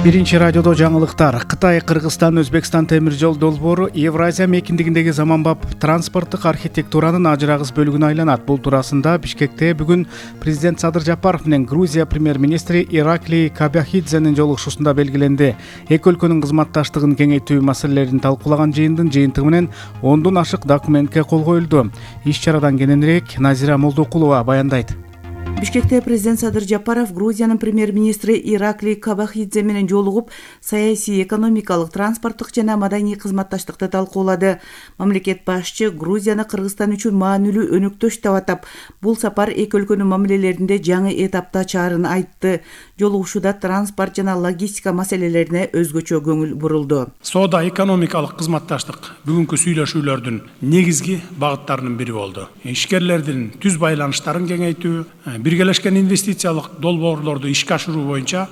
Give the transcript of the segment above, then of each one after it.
Биринчи радиодо жаңылыктар. Кытай, Кыргызстан, Өзбекстан темир жол долбоору Евразия мекиндигиндеги заманбап транспорттук архитектуранын ажырагыс бөлүгүнө айланат. Бул туурасында Бишкекте бүгүн президент Садыр Жапаров менен Грузия премьер-министри Ираклий Кобахидзенин жолугушуусунда белгиленди. Эки өлкөнүн кызматташтыгын кеңейтүү маселелерин талкуулаган жыйындын жыйынтыгы менен 10дон ашык документке кол коюлду. Иш-чарадан кененирээк Назира Молдокулова баяндайт. Бишкекте президент Садыр Жапаров Грузиянын премьер-министри Ираклий Кобахидзе менен жолугуп, саясий, экономикалык, транспорттук жана маданий кызматташтыкты талкуулады. Мамлекет башчы Грузияны Кыргызстан үчүн маанилүү өнөктөш деп атап, бул сапар эки өлкөнүн мамилелеринде жаңы этапта ачаарын айтты. Жолугушууда транспорт жана логистика маселелерине өзгөчө көңүл бурулду. Соода экономикалык кызматташтык бүгүнкү сүйлөшүүлөрдүн негизги багыттарынын бири болду. Ишкерлердин түз байланыштарын кеңейтүү, биргелешкен инвестициялык долбоорлорду ишке ашыруу боюнча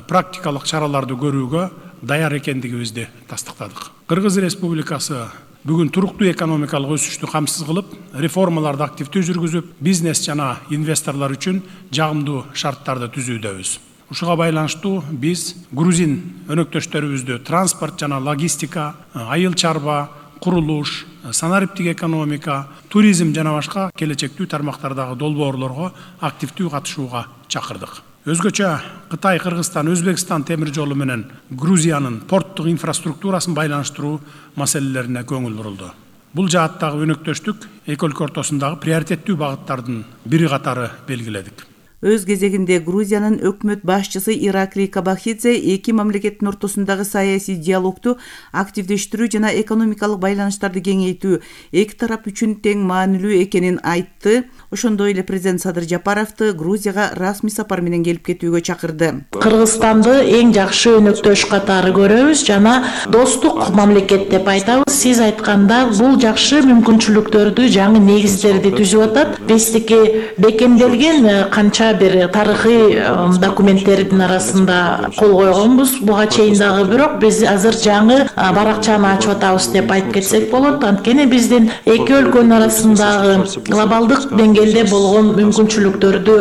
практикалык чараларды көрүүгө даяр экендигибизди тастыктадык. Кыргыз Республикасы бүгүн туруктуу экономикалык өсүштү камсыз кылып, реформаларды активдүү жүргүзүп, бизнес жана инвесторлор үчүн жагымдуу шарттарды түзүүдөбүз. Ушуга байланыштуу биз грузин өнөктөштөрүбүздү транспорт жана логистика, айыл чарба, курулуш, санариптик экономика, туризм жана башка келечектүү тармактардагы долбоорлорго активдүү катышууга чакырдык. Өзгөчө Кытай, Кыргызстан, Өзбекстан темир жолу менен Грузиянын порттук инфраструктурасын байланыштыруу маселелерине көңүл бурулду. Бул жааттагы өнөктөштүк эки өлкө ортосундагы приоритеттүү багыттардын бири катары белгиледик. Өз кезегинде Грузиянын өкмөт башчысы Ираклий Кобахидзе эки мамлекеттин ортосундагы саясий диалогду активдештирүү жана экономикалык байланыштарды кеңейтүү эки тарап үчүн тең маанилүү экенин айтты. Ошондой эле президент Садыр Жапаровду Грузияга расмий сапар менен келип кетүүгө чакырды. Кыргызстанды эң жакшы өнөктөш катары көрөбүз жана достук мамлекет деп айтабыз. Сиз айтканда бул жакшы мүмкүнчүлүктөрдү, жаңы негиздерди түзүп атат. Биздики бекемделген канча бир тарыхый документтердин арасында кол койгонбуз. Буга чейин дагы бирок биз азыр жаңы баракчаны ачып атабыз деп айтып кетсек болот. Анткени биздин эки өлкөнүн арасындагы глобалдык деңгээлде болгон мүмкүнчүлүктөрдү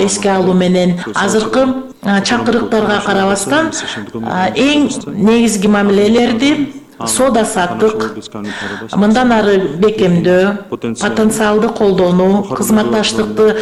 эске алуу менен азыркы чакырыктарга карабастан эң негизги мамилелерди соода саттык, мындан ары бекемдөө, потенциалды колдонуу, кызматташтыкты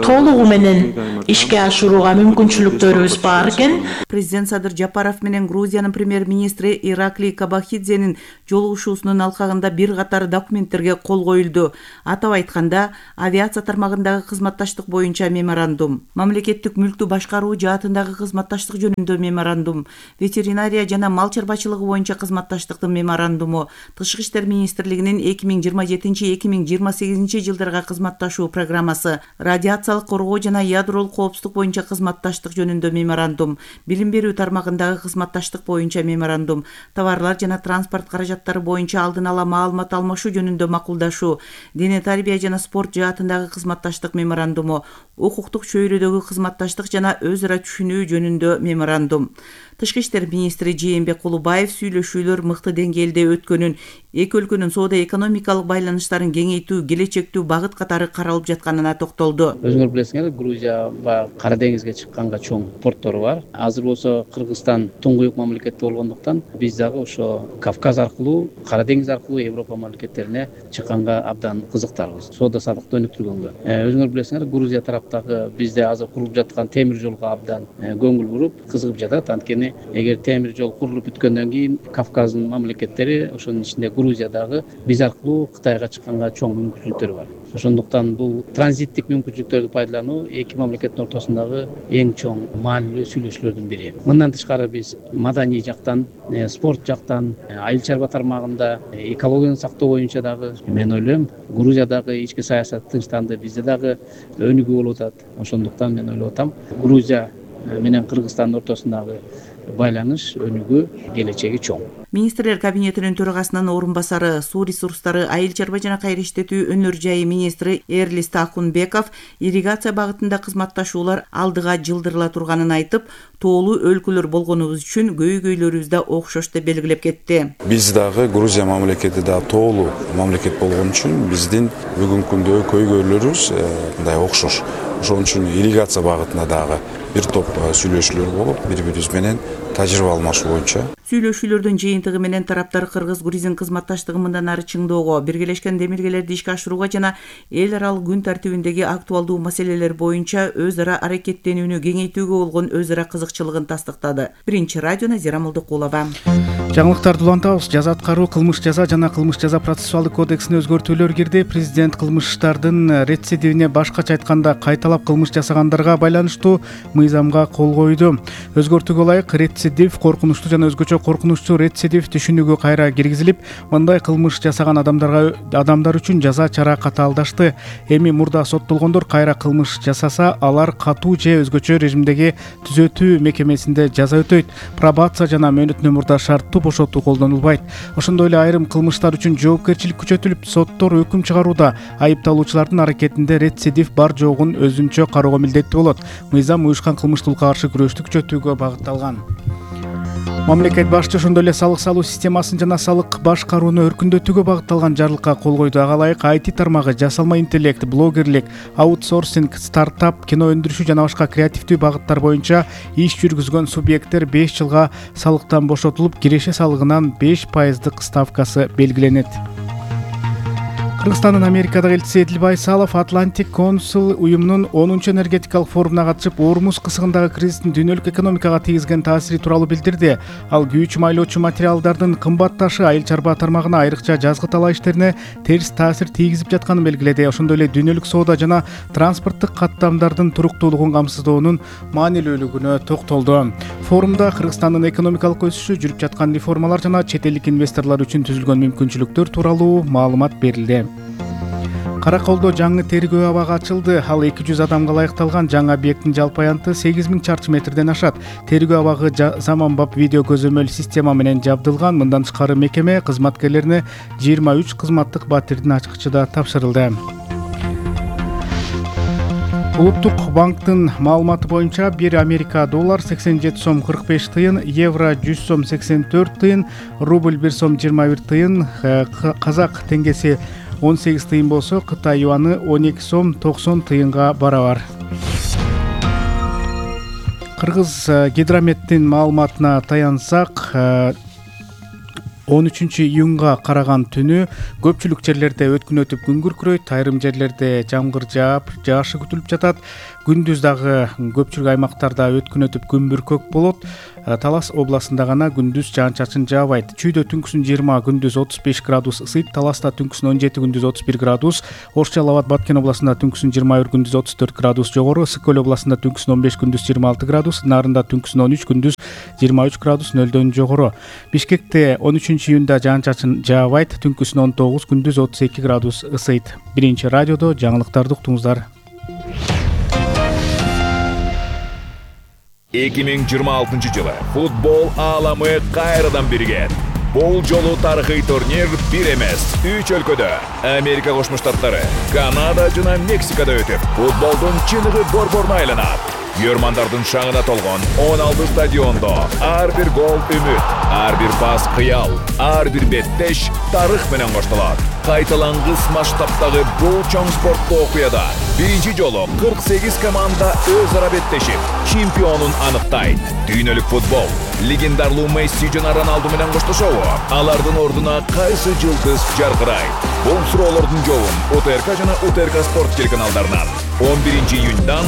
толугу менен ишке ашырууга мүмкүнчүлүктөрүбүз бар экен. Президент Садыр Жапаров менен Грузиянын премьер-министри Ираклий Кобахидзенин жолугушуусунун алкагында бир катар документтерге кол коюлду. Атап айтканда, авиация тармагындагы кызматташтык боюнча меморандум, мамлекеттик мүлктү башкаруу жаатындагы кызматташтык жөнүндө меморандум, ветеринария жана мал чарбачылыгы боюнча кызматташтыктын меморандуму, Тышкы иштер министрлигинин 2027-2028 жылдарга кызматташуу программасы, радиациялык коргоо жана ядролук коопсуздук боюнча кызматташтык жөнүндө меморандум, билим берүү тармагындагы кызматташтык боюнча меморандум, товарлар жана транспорт каражаттары боюнча алдын ала маалымат алмашуу жөнүндө макулдашуу, дене тарбия жана спорт жаатындагы кызматташтык меморандуму, укуктук чөйрөдөгү кызматташтык жана өз ара түшүнүү жөнүндө меморандум. Тышкы иштер министри Жээнбек Кулубаев сүйлөшүүлөр мыкты деңгээлде өткөнүн, эки өлкөнүн соода экономикалык байланыштарын кеңейтүү келечектүү багыт катары каралып жатканына токтолду. Өзүңөр билесиңер, Грузия Кара деңизге чыкканга чоң портору бар. Азыр болсо Кыргызстан туңгуюк мамлекет болгондуктан биз дагы ошо Кавказ аркылуу, Кара деңиз аркылуу Европа мамлекеттерине чыкканга абдан кызыктарбыз. Соода саттыкты өнүктүргөнгө. Өзүңөр билесиңер, Грузия тараптагы бизде азыр курулуп жаткан темир жолго абдан көңүл буруп, кызыгып жатат. Анткени эгер темир жол курулуп бүткөндөн кийин Кавказдын мамлекеттери, ошонун ичинде Грузиядагы биз аркылуу Кытайга чыкканга чоң мүмкүнчүлүктөр бар. Ошондуктан бул транзиттик мүмкүнчүлүктөрдү пайдалануу эки мамлекеттин ортосундагы эң чоң маанилүү сүйлөшүүлөрдүн бири. Мындан тышкары биз маданий жактан, спорт жактан, айыл чарба тармагында, экологияны сактоо боюнча дагы мен ойлойм, Грузиядагы ички саясат тынчтанды, бизде дагы өнүгүү болуп атат. Ошондуктан мен ойлоп атам, Грузия менен Кыргызстандын ортосундагы байланыш, өнүгүү келечеги чоң. Министрлер кабинетинин төрагасынын орун басары, суу ресурстары, айыл чарба жана кайра иштетүү өнөр жайы министри Эрлис Тахунбеков ирригация багытында кызматташуулар алдыга жылдырыла турганын айтып, тоолуу өлкөлөр болгонубуз үчүн көйгөйлөрүбүз да окшош деп белгилеп кетти. Биз дагы Грузия мамлекети да тоолуу мамлекет болгон үчүн биздин бүгүнкү күндөгү көйгөйлөрүбүз мындай окшош. ошон үчүн ирригация багытында дагы бир топ сүйлөшүүлөр болуп, бири-бирибиз менен тажрыйба алмашуу боюнча. Сүйлөшүүлөрдүн жыйынтыгы менен тараптар кыргыз-грузин кызматташтыгын мындан ары чыңдоого, биргелешкен демилгелерди ишке ашырууга жана эл аралык күн тартибиндеги актуалдуу маселелер боюнча өз ара аракеттенүүнү кеңейтүүгө болгон өз ара кызыкчылыгын тастыктады. Биринчи радио Назира Молдокулова. Жаңылыктарды улантабыз. Жаза аткаруу, кылмыш жаза жана кылмыш жаза процессуалдык кодексине өзгөртүүлөр кирди. Президент кылмыштардын рецидивине, башкача айтканда кайталап кылмыш жасагандарга байланыштуу мыйзамга кол койду. Өзгөртүүгө ылайык рецидив, коркунучтуу жана өзгөчө коркунучтуу рецидив түшүнүгү кайра киргизилип, мындай кылмыш жасаган адамдар үчүн жаза чара катаалдашты. Эми мурда соттолгондор кайра кылмыш жасаса, алар катуу же өзгөчө режимдеги түзөтүү мекемесинде жаза өтөйт. Пробация жана мөөнөтүнөн мурда шарттуу бошотуу колдонулбайт. Ошондой эле айрым кылмыштар үчүн жоопкерчилик күчөтүлүп, соттор өкүм чыгарууда айыпталуучулардын аракетинде рецидив бар жогун өзүнчө кароого милдеттүү болот. Мыйзам уюшкан кылмыштуулукка каршы күрөштү күчөтүүгө багытталган. Мамлекет башчысы ошондой эле салык салуу системасын жана салык башкарууну өркүндөтүүгө багытталган жарлыкка кол койду. Ага ылайык IT тармагы, жасалма интеллект, блогерлик, аутсорсинг, стартап, кино өндүрүшү жана башка креативдүү багыттар боюнча иш жүргүзгөн субъекттер 5 жылга салыктан бошотулуп, киреше салыгынын 5% ставкасы белгиленет. Кыргызстандын Америкадагы элчиси Эдил Байсалов Atlantic Council уюмунун 10-чу энергетикалык форумуна катышып, Ормуз кысыгындагы кризистин дүйнөлүк экономикага тийгизген таасири тууралуу билдирди. Ал күйүүчү майлоочу материалдардын кымбатташы айыл чарба тармагына, айрыкча жазгы талаа иштерине терс таасир тийгизип жатканын белгиледи. Ошондой эле дүйнөлүк соода жана транспорттук каттамдардын туруктуулугун камсыздоонун маанилүүлүгүнө токтолду. Форумда Кыргызстандын экономикалык өсүшү, жүрүп жаткан реформалар жана чет элдик инвесторлор үчүн түзүлгөн мүмкүнчүлүктөр тууралуу маалымат берилди. Караколдо жаңы тергөө абагы ачылды. Ал 200 адамга ылайыкталган жаңы объекттин жалпы аянты 8000 чарчы метрден ашат. Тергөө абагы заманбап видео көзөмөл система менен жабдылган. Мындан тышкары мекеме кызматкерлерине 23 кызматтык батирдин ачкычы да тапшырылды. Улуттук банктын маалыматы боюнча 1 Америка доллар 87 сом 45 тыйын, евро 100 сом 84 тыйын, рубль 1 сом 21 тыйын, казак теңгеси 18 тыйын болсо, Кытай юаны 12 сом 90 тыйынга барабар. Кыргыз гидрометтин маалыматына таянсак, 13 июнга караган түнү көпчүлүк жерлерде өткүн өтүп күн күркүрөйт, айрым жерлерде жамгыр жаап, жаашы күтүлүп жатат. Күндүз дагы көпчүлүк аймактарда өткүн өтүп күн бүркөк болот. Талас областында гана күндүз жаан-чачын жаабайт. Чүйдө түнкүсүн 20, күндүз 35 градус ысыйт. Таласта түнкүсүн 17, күндүз 31 градус. Ош Жалал Абад, Баткен областында түнкүсүн 21, күндүз 34 градус жогору. Ысык Көл областында түнкүсүн 15, күндүз 26 градус. Нарында түнкүсүн 13, күндүз 23 градус нөлдөн жогору. Бишкекте 13 июнда жаан-чачын жаабайт. Түнкүсүн 19, күндүз 32 градус ысыйт. Биринчи радиодо жаңылыктарды уктуңуздар. 2026 жылы футбол ааламы кайрадан бирген. Бул жолу тарыхый турнир бир эмес, 3 өлкөдө Америка Кошмо Штаттары, Канада жана Мексикада өтүп, футболдун чыныгы борборуна айланат. Көрмандардын шаңына толгон 16 стадиондо ар бир гол үмүт, ар бир пас кыял, ар бир беттеш тарых менен коштолот. Кайталангыс масштабтагы бул чоң спорттуу окуяда биринчи жолу 48 команда өз ара беттешип, чемпионун аныктайт. Дүйнөлүк футбол легендарлуу Месси жана Роналду менен коштошобу? Алардын ордуна кайсы жылдыз жаркырайт? Бул суроолордун жообун УТРК жана УТРК спорт телеканалдарынан 11 июньдан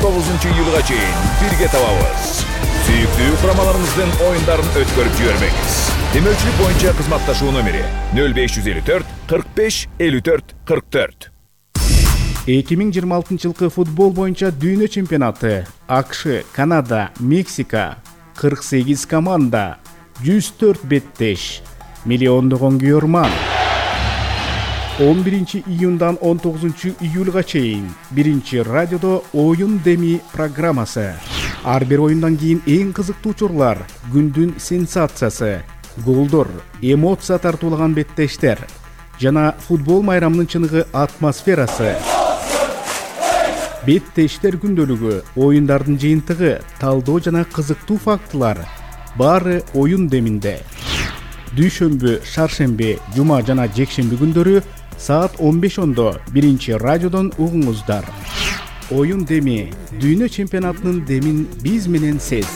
19 июлга чейин бирге табабыз. Сүйүктүү курамаларыңыздын оюндарын өткөрүп жибербеңиз. Демөөлчүлүк боюнча кызматташуу номери 0554 45 54 44. 2026 жылкы футбол боюнча дүйнө чемпионаты. АКШ, Канада, Мексика, 48 команда, 104 беттеш, миллиондогон күйөрман. 11 июндан 19 июлга чейин биринчи радиодо оюн деми программасы. Ар бир оюндан кийин эң кызыктуу учурлар, күндүн сенсациясы, голдор, эмоция тартуулаган беттештер жана футбол майрамынын чыныгы атмосферасы. Беттештер күндөлүгү, оюндардын жыйынтыгы, талдоо жана кызыктуу фактылар баары оюн деминде. Дүйшөмбү, шаршемби, жума жана жекшемби күндөрү саат 15:10 биринчи радиодон угуңуздар. оюн деми, дүйнө чемпионатынын демин биз менен сез.